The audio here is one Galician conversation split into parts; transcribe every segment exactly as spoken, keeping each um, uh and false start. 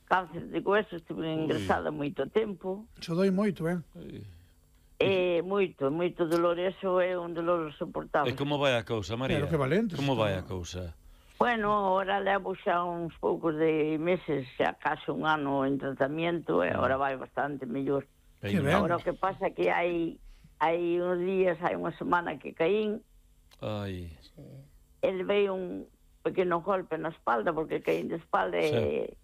cáncer de hueso, estuve ingresada moito tempo. Xo doi moito, eh? É moito, moito dolor, eso é un dolor soportable. E como vai a cousa, María? Pero que valentes. Como vai a cousa? Bueno, ahora levo xa uns poucos de meses, xa case un ano en tratamento, e agora vai bastante mellor. Que ben. Agora o que pasa é que hai hai uns días, hai unha semana que caín, Ai. ele veio un pequeno golpe na espalda, porque caín de espalda e,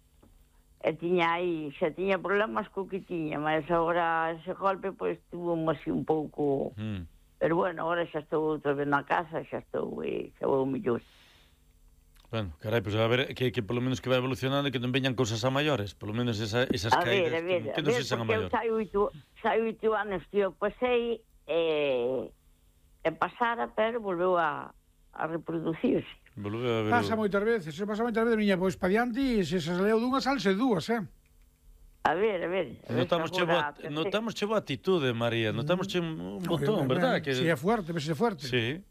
e tiña aí, xa tiña problemas co que tiña, mas agora ese golpe, pois, tuvo así un pouco... Mm. Pero bueno, agora xa estou outra vez na casa, xa estou, e xa vou mellor. Bueno, carai, pois a ver, que, que polo menos que vai evolucionando e que non veñan cousas a maiores, polo menos esa, esas A caídas, ver, a ver, que, a que non ver, sexan a porque eu maiores. sai oito, sai oito anos que eu pasei e, e pasara, pero volveu a, a reproducirse. Volveu a ver Pasa o- moitas veces, se pasa moitas veces, miña, pois pa diante, e se se leo dunha, salse dúas, eh? A ver, a ver. A ver Notamos se che boa, agora- notamos che boa atitude, María, notamos che un, un botón, verdad? Que... Si é fuerte, ves é fuerte. Sí,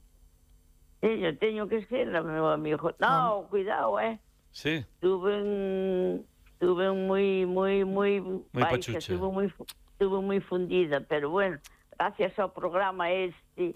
Sí, yo teño que ser, meu amigo. No, cuidado, eh. sí. Tuve un... Tuve un moi, moi, moi... Moi pachucha. Estuve moi, estuve moi fundida, pero bueno, gracias ao programa este,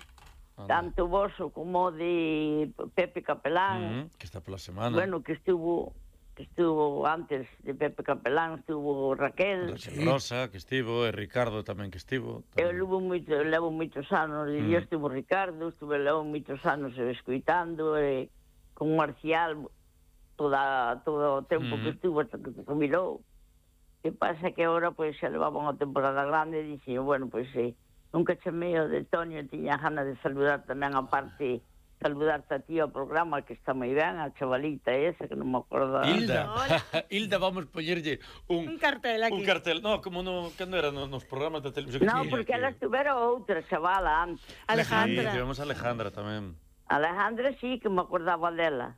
Anda. tanto voso como de Pepe Capelán, Mm, que está pola semana. bueno, que estuvo que estuvo antes de Pepe Capelán, estuvo Raquel. Raquel Rosa, que estivo, e Ricardo tamén que estivo. Eu tamén. levo, moito, levo moitos anos, e Mm. estuvo Ricardo, estuve levo moitos anos escoitando, e con Marcial toda, todo o tempo Mm. que estuvo hasta que se jubilou. Que pasa que agora, pois, xa levaba unha temporada grande, e dixen, bueno, pois, eh, nunca chamei o de Tonio, tiña gana de saludar tamén a parte, saludarte a ti ao programa, que está moi ben, a chavalita esa, que non me acordo. Hilda, Hilda, vamos poñerlle un, Un cartel aquí. un cartel. No, como no, cando era no, nos programas de televisión. No, que- porque que- ela estuvera outra chavala antes. Sí, Alejandra. tivemos a Alejandra tamén. Alejandra sí que me acordaba dela.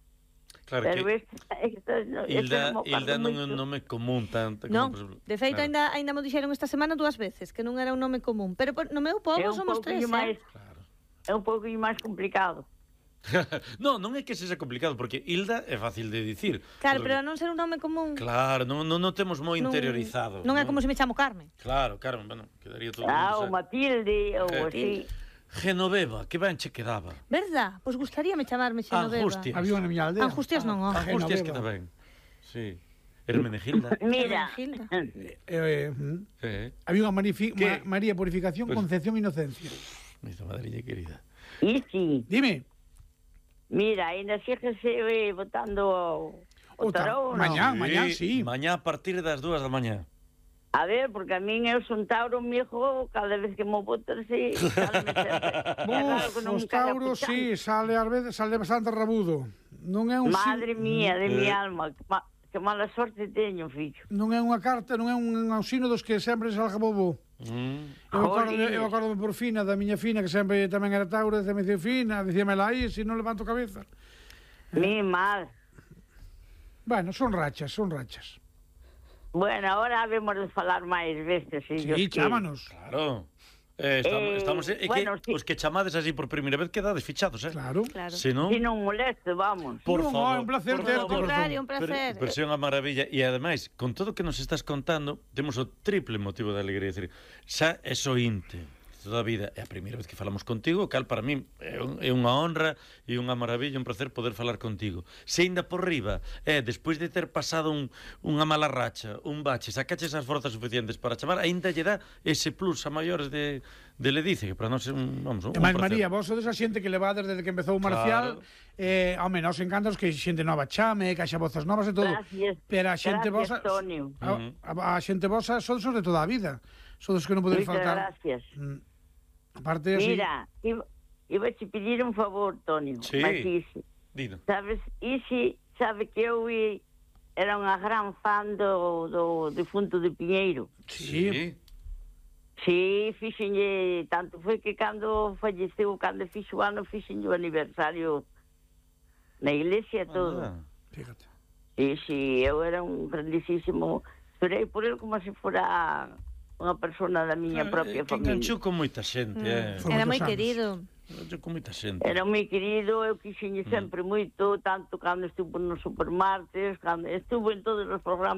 Claro Pero que esta, esta, no, esta Hilda, non me acordo Hilda non é un moito. nome común tanto como, Non, por exemplo, de feito, claro. ainda, ainda mo dixeron esta semana dúas veces que non era un nome común. Pero por, no meu pobo É un somos tres, pouquinho máis, eh? Claro. é un pouquinho máis complicado. No, non é que sexa complicado, porque Hilda é fácil de dicir. Claro, pero a non ser un nome común... Claro, non, non, non temos moi non- interiorizado. Non é como se me chamo Carmen. Claro, claro, bueno, quedaría todo... Ah, mundo, o Matilde, ou Eh, así. Genoveva, que ben che quedaba. Verdad? Pois gustaríame chamarme Xenoveva. Angustias. Había unha na miña aldea. Angustias non, ó. Angustias Genoveva. queda ben. Sí. Hermenegilda. Mira, Gilda. Eh, eh, mm. Eh, Había unha manifi- ¿Qué? Ma- María Purificación, Pues- Concepción, Inocencia. mi madriña querida. e sí, Dime. mira, ainda síguese eh, votando o, o O ta- tarón, mañá. Ah, mañá, sí. Mañá a partir das dúas da mañá. A ver, porque a min eu son Tauro, mi hijo, cada vez que mo votas, sí, sáleme sempre. É raro que Buf, non os me caga tauros, puxando. sí, sale ás veces, sale bastante rabudo. Non é un Madre sin- mía, de mi Eh. alma, que, ma, que mala sorte teño, fillo. non é unha carta, non é un ausino dos que sempre salga bobo. Mm. Eu acordo, Jolines. eu acordo por Fina, da miña Fina, que sempre tamén era Tauro, e me dicía Fina, dicíame lá aí, se non levanto cabeza. Mi mal. Bueno, son rachas, son rachas. Bueno, ahora habemos de falar máis veces, si Dios Sí, quere. chámanos. Claro. Eh, estamos, Eh, estamos é bueno, que sí. os que chamades así por primeira vez quedades fichados, eh? Claro. Claro. Se non, Si non moleste, vamos. por Non, favor. é un placer por terte, Ao favor. contrario, un Pero, placer. pero é unha maravilla e ademais, con todo o que nos estás contando, temos o triple motivo de alegría, decir, xa é sointe toda a vida, é a primeira vez que falamos contigo, cal para mí é, un, é unha honra e unha maravilla, un placer poder falar contigo. Se ainda por riba, é, despois de ter pasado un, unha mala racha, un bache, sacaches as forzas suficientes para chamar, ainda lle dá ese plus a maiores de, de Ledice, que para nós é un, vamos, un E máis, placer. María, vos sodes a xente que levades desde que empezou o Marcial, Claro. eh, home, nos encantan que xente nova chame, que haxa vozas novas e todo. Gracias. Pero a xente Gracias, vosa, Tonio. a, a, a xente vosa sodes os de toda a vida. Sodes que non podedes Moitas faltar. gracias. Mm. Aparte así. Mira, iba, iba a te pedir un favor, Tonio. Sí. Mas Isi, Dino. sabes, Isi sabe que eu i- era unha gran fan do, do difunto de Piñeiro. Sí. Sí, fixenlle, tanto foi que cando falleceu, cando fixo o ano, fixenlle o aniversario na iglesia e todo. Ah, Fíjate. Sí, sí, eu era un grandísimo... Esperei por ele como se fora unha persona da miña claro, propia é que familia. enganchou con moita xente, eh. Foi Era moitos moi anos. querido. Enganchou con moita xente. Era moi querido, eu quixenlle Mm. sempre moito, tanto cando estuvo nos Supermartes, cando estuvo en todos os programas